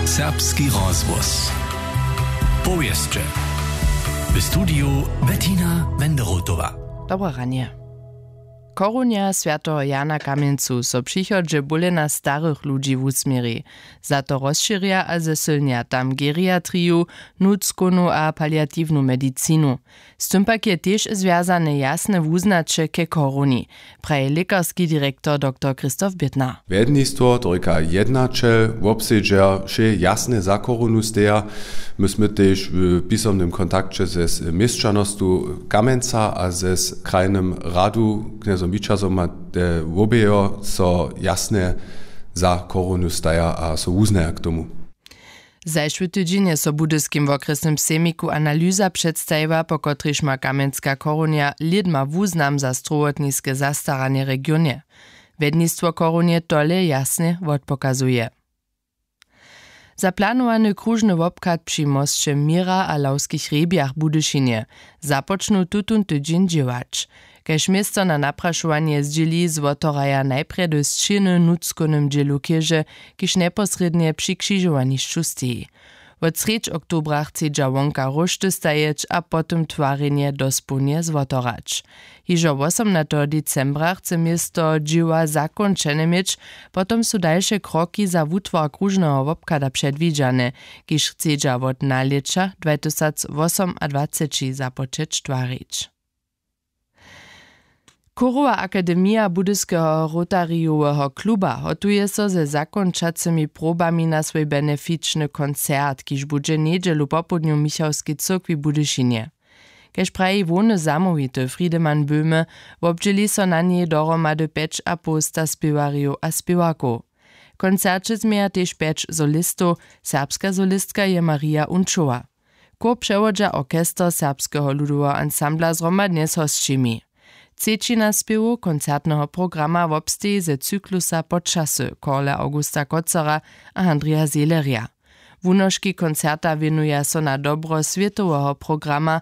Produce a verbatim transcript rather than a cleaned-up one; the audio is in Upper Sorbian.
Serbski rozhłos. Powěsće. W studiju Bettina Wenderotowa. Dobre ranje. Korunja swjateho Jana Kamjencu so přichodźe bólena starych ludźi wusměri. Za to rozšěrja a zesylnja tam geriatriju, nutřkownu a paliatiwnu medicinu. Z tym pak je tež zwjazane jasne wuznaće ke koruni, praji lěkarski direktor doktor Christoph Bittner. Wjednistwo, to rěka jednaćel, wobsedźer wšě jasne za korunu steja. My smy tež w pisomnym kontakće ze měšćanostu Kamenca a ze krajnym radu knjezom Wićazom a te wobejo so jasne za korunu staja a so wuznaja k tomu. Zašły tydźeń je so w budyskim wokrjesnym sejmiku analyza předstajiła, po kotrejž ma kamjenska korunja lědma wuznam za strowotniske zastaranje w regionje. Wjednistwo korunje tole jasnje wotpokazuje. Za planowany kružny wobchad při mosće Měra a Lawskich hrjebjach w Budyšinje započnu tutón tydźeń dźěłać. Kaž město na naprašowanje zdźěli, zwotoraja najprjedy sćěny w nutřkownym dźělu chěže, kiž njeposrědnje při křižowanišću steji. Wot srjedź oktobra chcedźa wonka róšty stajeć a potom twarjenje dospołnje zwotorać. Hižo wosomnateho decembra chce město dźěła zakónčene měć, potom su dalše kroki za wutwar kružneho wobchada předwidźane, kiž chcedźa wot nalěća dwatysacwosomadwaceći započeć twarić. Chórowa akademija Budyskeho Rotarijoweho kluba hotuje so ze zakónčacymi probami na swój benefičny koncert, kiž budźe njedźelu popołdnju w Michałskej cyrkwi w Budyšinje. Kaž praji hłowny zamołwity Friedemann Böhme, wobdźěli so na njej dohromady pjećapołsta spěwarjow a spěwarkow. W koncerće změja tež pjeć solistow, serbska solistka je Marija Unčowa. Chór přewodźa orchester Serbskeho ludoweho ansambla zhromadnje z hosćimi. Třećina spěwow koncertneho programa wobsteji ze cyklusa Počasy Korle Augusta Kotzera a Handrija Zehlerja. Wunožki koncerta wěnuja so na dobro swětoweho programa